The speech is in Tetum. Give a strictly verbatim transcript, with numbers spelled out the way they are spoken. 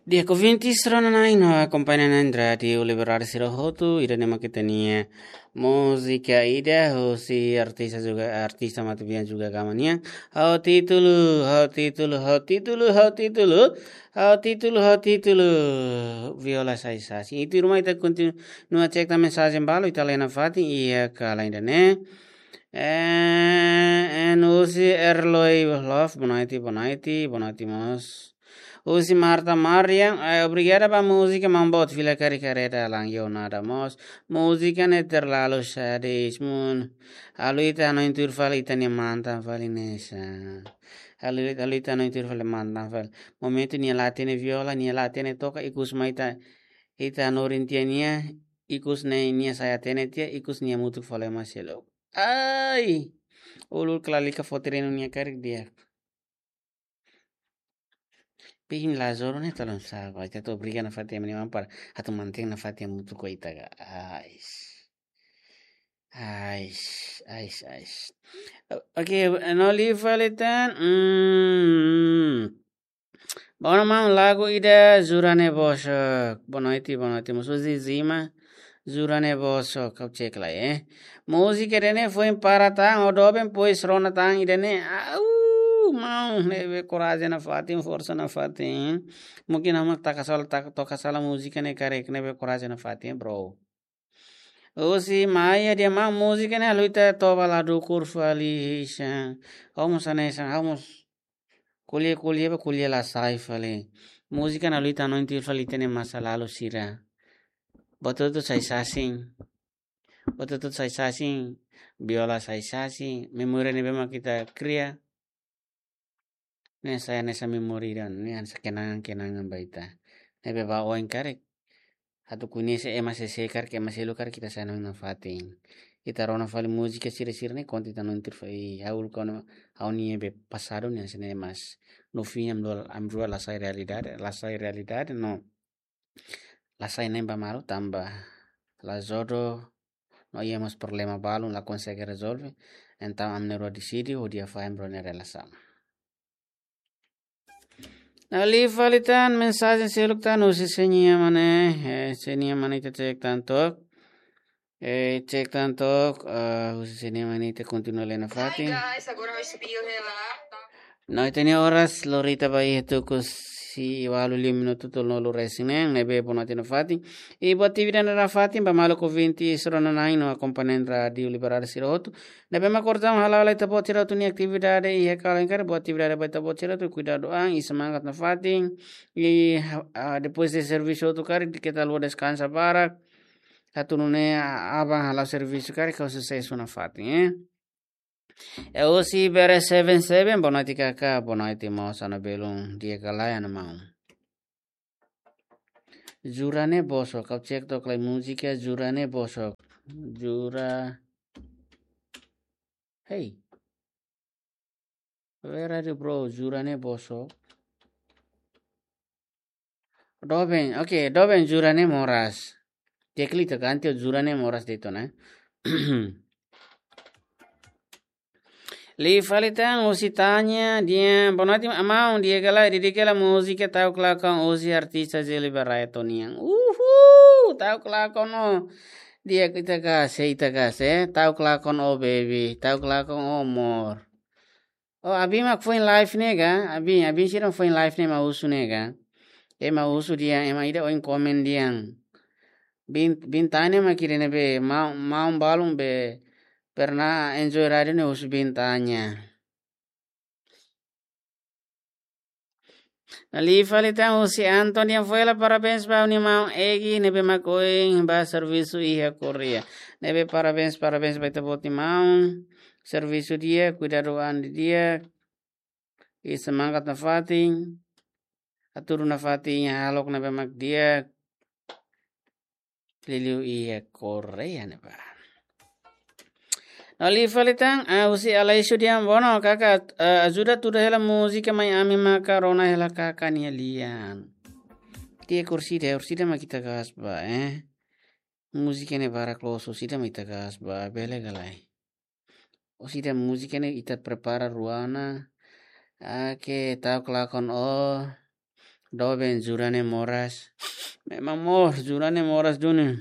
Di'ak, ouvintes rona-na'in no akompaña-na'in Rádiu Liberdade sira hotu, ida-ne'e mak ita-nia múzika ida husi artista juga, artista matebian juga gama nian. Ha'u títulu, ha'u títulu, ha'u títulu, ha'u títulu, ha'u títulu, ha'u títulu. Viola Sai Sasin. Ita ruma ita kontinua cek tan mensajen balu, ita lee nafatin, iha kalan ida-ne'e. Eh, en husi Erloi Love, boa noite, boa noite, boa noite mós. Husi Marta Mariam, eh, obrigada ba múzika, maun boot, fila karik haree dalan, jornada mós. Múzika ne'e terlalu sadis, mun. Halo ita hanoin tuir fali ita-nia mantan fali ne'e sa. Halo, halo ita hanoin tuir fali mantan fali. Momentu nia la hatene viola, nia la hatene toka, ikus mai ita, ita hanorin tiha nia, ikus ne'e nia sai hatene tiha, ikus nia mutuk fali ema seluk. Ai! Uluk lalika fó terrenu nia karik di'ak. Pin la zoro ne'e talon sa, vai, ita atu obriga nafatin ema nia mane para atu mantein nafatin mutuk ho ita ka. Ais. Ais, ais, ais. O-, oke, no liu fali tan. Hmm. Bom, maun, lagu ida Jura Ne'e Bosok. Boa noite, boa noite. Mós husi Zima. Jura Ne'e Bosok, ha'u cek lai, eh. Múzika ida-ne'e foin para tan, ho doben, depois rona tan ida-ne'e. Au, maun, ne'ebé korajen nafatin, forsa nafatin. Mungkin ha'u mak taka sala, taka, toka sala múzika ne'e karik, ne'ebé korajen nafatin, bro. Husi Maia dehan maun, múzika ne'e halo ita toba la dukur fali, sa. Ha'u mós hanesan, ha'u mós ko'alia, ko'alia, ba ko'alia la sai fali. Múzika ne'e halo ita hanoin tuir fali ita-nia masa lalu sira. Buat hotu sai sasin. Buat hotu sai sasin. Viola sai sasin. Memória ne'ebé mak ita kria. Ne'e sai hanesan memória ida, ne'e hanesan kenangan-kenangan ba ita. Ne'ebé ba oin karik. Atu koñese ema sesé karik, ema seluk karik, ita sai hanoin nafatin. Ita rona fali múzika sira-sira ne'e konta ita hanoin tuir fali, ha'u uluk ha'u-nia, ha'u-nia be pasadu ne'e hanesan ne'e, mas no fim ami rua, ami rua la sai realidade, la sai realidade, no. La sai na'in ba malu tanba la jodoh, no iha mós problema balun la konsege rezolve. Entaun ami na'in-rua deside hodi afain ami rua nia relasaun. No liu fali tan mensajen seluk tan husi sé nian, maun, eh, sé nian, maun, ita cek tan took. Eh, cek tan took, eh, husi sé nian, maun, ita kontinua lee nafatin. Hi guys, agora vai subir o relato. No ita-nia oras lori ita ba iha tuku sia ualu liu minutu tolunulu resin neen, ne'ebé boa noite nafatin. I buat atividade nafatin, ba maluk ouvintes rona-na'in no akompañante Rádiu Liberdade sira hotu. Ne'ebé mak orsida hala'o lai ita-boot sira hotu nia atividade iha kalan karik, buat atividade ba ita-boot sira hotu, kuidadu an, i semangat nafatin. I, ah, depois de servisu hotu karik, keta haluha deskansa barak. Atu nune'e, ah, aban hala'o servisu karik, ha'u susesu nafatin, eh. E husi Bere Seven Seven, boa noite, kaka, boa noite, maun, sá no belun, di'ak ka lae, maun. Jura Ne'e Bosok, ha'u cek took lai múzika Jura Ne'e Bosok. Jura. Hey. Where are you, bro? Jura Ne'e Bosok. Doben, oke, doben Jura Ne'e Moras. Di'ak liu ita ganti Jura Ne'e Moras de'it ona. Liu fali tan husi Tanya, dehan, boa noite, maun, di'ak ka lae, di'ak ka lae múzika Ta'uk Lakon husi artista Zeli Barreto nian. Uhul, Ta'uk Lakon no. Di'ak ita ka, sé ita ka, sé. Ta'uk Lakon, oh baby, Ta'uk Lakon, oh amor. Oh, Abi mak foin live ne'e ka? Abi, Abi sira foin live ne'e ema husu ne'e ka? Ema husu dehan, ema ida ohin komen dehan. Bin, bin Tanya mak ida ne'ebé, maun, maun balun be pernah enjoy rádiu ne'e husu bin Tanya. No liu fali tan husi Anton dehan, foin hela parabéns ba ha'u-nia maun Egi ne'ebé mak ohin bá servisu iha Koreia. Ne'ebé parabéns, parabéns ba ita-boot nia maun. Servisu di'ak, kuidadu an didi'ak. I semangat nafatin. Hatudu nafatin iha hahalok ne'ebé mak di'ak. Liuliu iha Koreia ne'ebá. No liu fali tan, ah, husi Alessio dehan, bono, kaka, ah, ajuda tuda hela múzika mai ami maka rona hela kaka nia lian. Di'ak, orsida, orsida mak ita kaas ba, eh. Múzika ne'e barak loos, orsida mak ita kaas ba, bele ka lae. Orsida múzika ne'e ita prepara rua ona. Oke, Ta'uk Lakon, oh. Doben jura ne'e moras. Memang mós jura ne'e moras duni.